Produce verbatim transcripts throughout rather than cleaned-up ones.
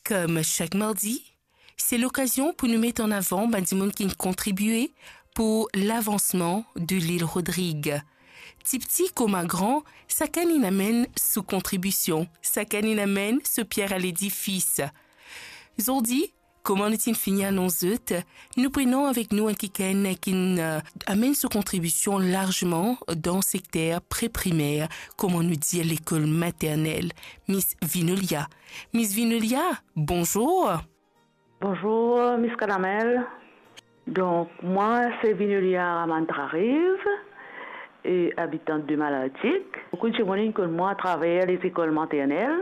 Kom sak mardi, se lokazion pou nou met an avan bann dimoun ki kontribie pou lavansman de lil Rodrig. Tipti kouma gran, sakenn inn amenn so kontribision, sakenn inn amenn so pier a ledifis. Zordi, kouma nou ti fini anons zot, nou prenon avek nou enn kikenn ki'nn, eh, amenn so kontribision larzman dan sekter pre-primer, kouma nou dir lekol maternel, Miss Vinolia. Miss Vinolia, bonzour. Bonzour, Miss Calamel. Donk, mwa, se Vinolia Ramantrariv, e abitant de Malartic. Boukou dimoun inn konn mwa atraver lezekol maternel,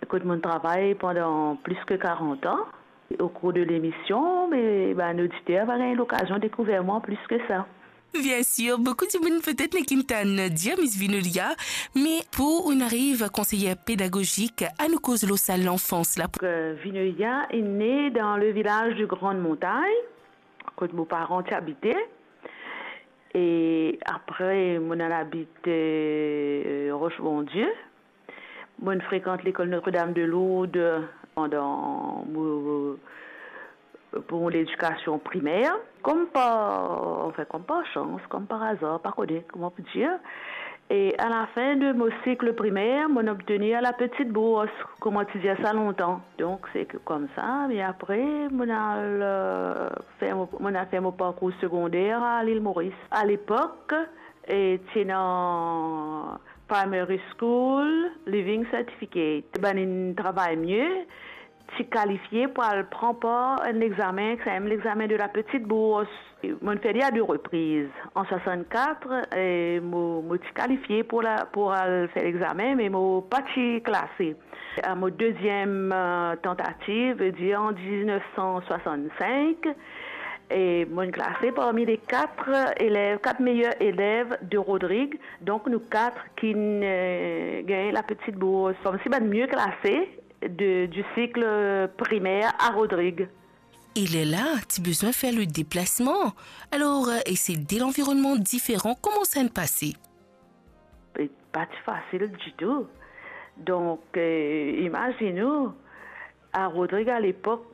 kot mo'nn travay pandan plis ki karant an. Au cours de l'émission, me bann oditer va gagn lokazion dekouver mwa plis ki sa. Biensir, boukou dimoun petet nek inn tann dir Miss Vinolia, me pou ou'nn ariv konseyer pedagozik, anou koz lor sa lanfans la. Euh, Vinolia est née dans le village de Grande Montagne, kot mo paran ti abite. E apre, mo'nn al abit, euh, Roche Bondieu. Mo'nn frekant lekol Notre-Dame de Lourdes pandan mo, pou mo ledikasion primer. Kom par, anfin, kom par sans, kom par azar, pa kone kouma pou dir. E a la fin de mo sik primer, mo'nn obtenir la petite bourse, kouma ti dir sa lontan. Donk, se ke koumsa, me apre, mo'nn al, euh, fer mo, mo'nn al fer mo parkour segonder a Lil Moris. A lepok, e ti ena Primary School Leaving Certificate. Bann inn travay mie, ti kalifie pou al pran par enn lexamen, ki se enn lexamen de la petite bourse. Mo'nn fer li a de repriz. An swasannkat, e mo, mo ti kalifie pou la, pou al fer lexamen, me mo pa ti klase. A mo deziem, euh, tantativ, vedir an diznef san swasannsenk, e mo'nn klase parmi le kat elev, kat meyer elev de Rodrig. Donk, nou kat ki'nn, euh, gagn la petite bourse. Koumsi bann mie klase de, du cycle primaire à Rodrig. E lerla, ti bizin fer le deplasman. Alor, euh, e se de lanvironnman diferan, kouma sa'nn pase? E pa ti fasil ditou. Donk, euh, imazinn ou, a Rodrig a lepok,